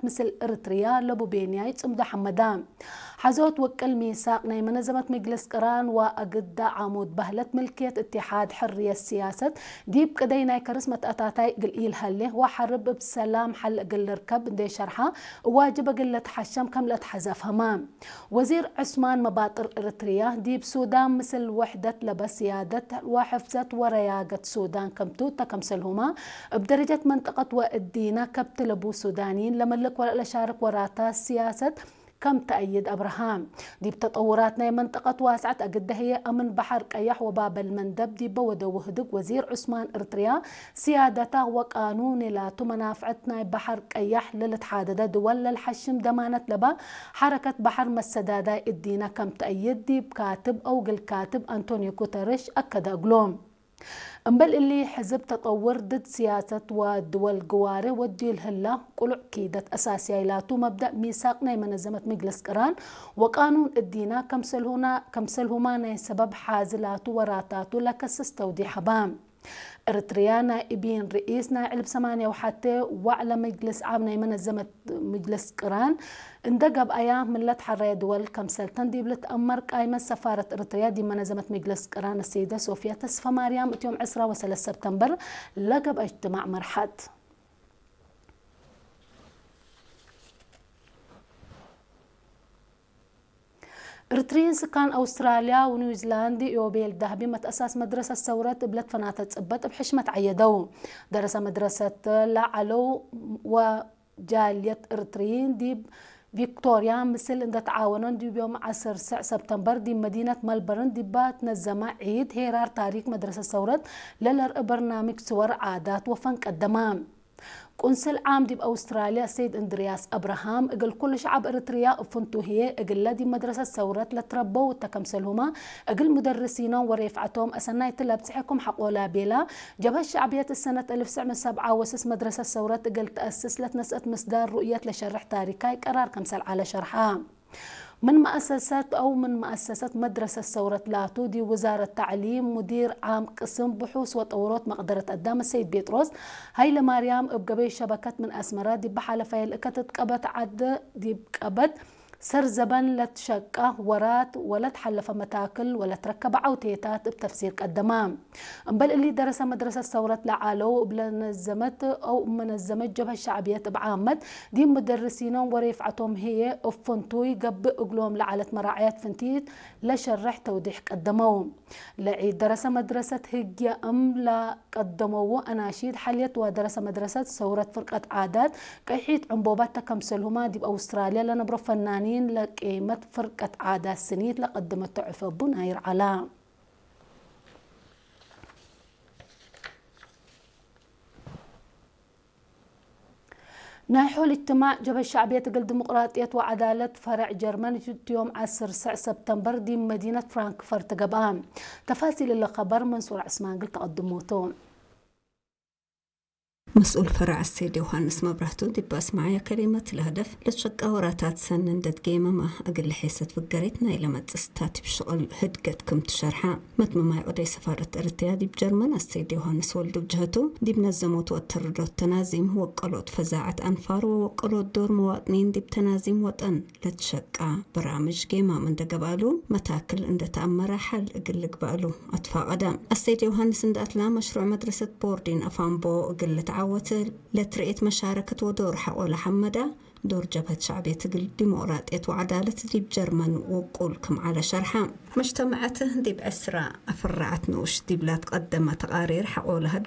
ምስል እርትርያ ለቡ ቤንያይ ጽምዶ ሓመዳ። ሓዞት ወቅል ሚሳቅ ናይ መነዘመት መግለስ ቅራን ወአግዳ ዓሙድ ባህለት ምልክየት እትሓድ ሕርየት ስያሰት ዲብ ቅደይ ናይ ከርስ መትአታታይ እግል ኢልሃሌ ወሐርብ እብ ሰላም ሐል እግል ልርከብ እንዴ ሸርሓ እዋጅብ እግል ለትሐሸም ከም ለትሐዘፍ ህማ። ወዚር ዑስማን መባጥር እርትርያ ዲብ ሱዳን ምስል ውሕደት ለበ ስያደት ወሕፍዘት ወረያገት ሱዳን ከምቱ ተከምሰልሁማ እብ ደረጀት መንጠቀት ወእዲና ከብት ለቡ ሱዳኒን ለመልክ ወለለሻርክ ወራታ ስያሰት ከም ተአይድ አብርሃም። ዲብ ተጠውራት ናይ መንጠቀት ዋስዐት አግደ ህየ አምን በሐር ቀያሕ ወባበል መንደብ ዲበ ወደ ውህድግ ወዚር ዑስማን እርትርያ ስያደታ ወቃኑን ላቱ መናፍዐት ናይ በሐር ቀያሕ ለልትሓደደ ድወል ለልሐሽም ደማነት ለባ ሐረከት በሐር መሰዳዳይ እዲና ከም ተአይድ ዲብ ካትብ አውግል ካትብ አንቶኒዮ ጉተርሽ አከደ እግሎም። እምበል እሊ ሕዝብ ተጠውር ድድ ስያሰት ወድወል ግዋሬ ወዲል ህላ ቁሉዕ ኪደት አሳስያይ ላቱ መብደእ ሚሳቅ ናይ መነዘመት መግለስ ቅራን ወቃኑን እዲና ከምሰልሁና ከምሰልሁማ ናይ ሰበብ ሓዚ ላቱ ወራታቱ ለከስስ ተውዲሕ ሀባ። እርትርያ ናይ እቢን ርኢስ ናይ ዕልብ ሰማንያ ወሓቴ ዋዕለ መግልስ ዓብ ናይ መነዘመት መግልስ ቅራን እንደ ገብአያ ምለት ሐራየ ድወል ከምሰልተን ዲብ ልትአመር ቃይመት ሰፋረት እርትርያ ዲብ መነዘመት መግልስ ቅራን ሰይደ ሶፊያ ተስፈ ማርያም እትዮም ዕስራ ወሰለስተ ሰብተምበር ለገብአ እጅትማዕ መርሐት። እርትርይን ስካን አውስትራልያ ወኒውዚላንድ ዮቤል ዳህቢ መትአሳስ መድረሰት ሰውረት እብለት ፈናተ ጽበት እብ ሕሽመት ዓየደው። ደረሰ መድረሰት ለዓለው ወጃልየት እርትርይን ዲብ ቪክቶርያ ምስል እንደተዓወኖን ዲብ ዮም ዐስር ስዕ ሰብተምበር ዲብ መዲነት መልበርን ዲባ ትነዘማ ዒድ ሄራር ታሪክ መድረሰት ሰውረት ለለርኢ በርናምጅ ስወር ዓዳት ወፈን ቀደማ። ቁንስል ዓም ዲብ አውስትራልያ ሰይድ እንድርያስ አብርሃም እግል ኩሉ ሸዓብ እርትርያ እፍንቱ ህዬ እግለ ዲብ መድረሰት ሰውረት ለትረበው እተ ከምሰልሁማ እግል ሙደርሲኖም ወሬፍዐቶም አሰናይት ለብጽሐኩም ሐቆላ ቤላ። ጀብሀት ሸዕብየት እሰነት እልፍ ስዕ ምን ሰብዓ ወስስ መድረሰት ሰውረት እግል ተአስስ ለትነስአት ምስዳር ሩእየት ለሸርሕ ታሪካይ ቀራር ከምሰል ዐለ ሸርሓ። ምን መአሰሰት አው ምን መአሰሰት መድረሰት ሰውረት ላቱ ዲብ ውዛረት ተዕሊም ሙዲር ዓም ቅስም ብሑስ ወጠውሮት መቅደረት አዳም ሰይድ ቤጥሮስ ሀይለማርያም እብ ገበይ ሸበከት ምን አስመራ ዲብ ሐለፋየ ልእከት እት ቀበት ዓደ ዲብ ቀበት ሰር ዘበን ለትሸቃ ወራት ወለትሐለፈ መታክል ወለትረከበ ዐውቴታት እብ ተፍሲር ቀደማ። እምበል እሊ ደረሰ መድረሰት ሰውረት ለዓለው እብ ለነዘመት አው መነዘመት ጀብሀት ሸዕብየት እብ ዓመት ዲብ ሙደርሲኖም ወሬፍዐቶም ህዬ እብ ፍንቱይ ገብእ እግሎም ለዐለት መራዕየት ፍንቲት ለሸርሕ ተውዲሕ ቀደመው። ለዒድ ደረሰ መድረሰት ህግየ እም ለቀደመው አናሺድ ሐልየት ወደረሰ መድረሰት ሰውረት ፍርቀት ዓዳት ቀይሒት ዕንቦባት ተከምሰልሁማ ዲብ አውስትራልያ ለነብሮ ፈናኒን ለቄመት ፍርቀት ዓዳት ስኒት ለቀደመቶ ዕፈ ቡን አይርዓላ። ናይ ሖል እጅትማዕ ጀብሀት ሸዕብየት እግል ዲሞቅራጥየት ወዐዳለት ፈረዕ ጀርመን እትዮም ዐስር ስዕ ሰብተምበር ዲብ መዲነት ፍራንክፈርት ገብአ። ተፋሲል እለ ከበር መንሱር ዕስማን እግል ተቀድሞቱ። መስኡል ፈረዕ አሰይድ ዮሃንስ መብራህቱ ዲብ አስመዓያ ከሊመት ለህደፍ ለትሸቃ ወራታት ሰኒ እንደ ትጌመማ እግል ለሔሰት ፍገሬት ናይ ለመጽእ ስታቲብ ሽቅል ህድገት ክም ትሸርሓ። መትመማይ ኦደይ ሰፋረት እርትርያ ዲብ ጀርመን አሰይድ ዮሃንስ ወልዱ ብጅሀቱ ዲብ ነዘሞት ወተርዶት ተናዚም ወቀሎት ፈዛዐት አንፋር ወወቀሎት ዶር መዋጥኒን ዲብ ተናዚም ወጠን ለትሸቃ በራምጅ ጌማም እንደ ገብአሉ መታክል እንደ ተአመረ ሐል እግል ልግበአሉ አትፋቀደ። አሰይድ ዮሃንስ እንደ አትላ መሽሩዕ መድረሰት ቦርዲን አፋምቦ እግል ልትዓወት ለትርኤት መሻረከት ወዶር ሐቆለ ሐመዳ ዶር ጀብሀት ሸዕብየት እግል ዲሞቅራጥየት ወዐዳለት ዲብ ጀርመን ውቁል ክም ዐለ ሸርሐ። መጅተመዐት ዲብ ዕስራ አፍራዐት ንኡሽ ዲብላ ትቀደመ ተቃሪር ሐቆለ ህድ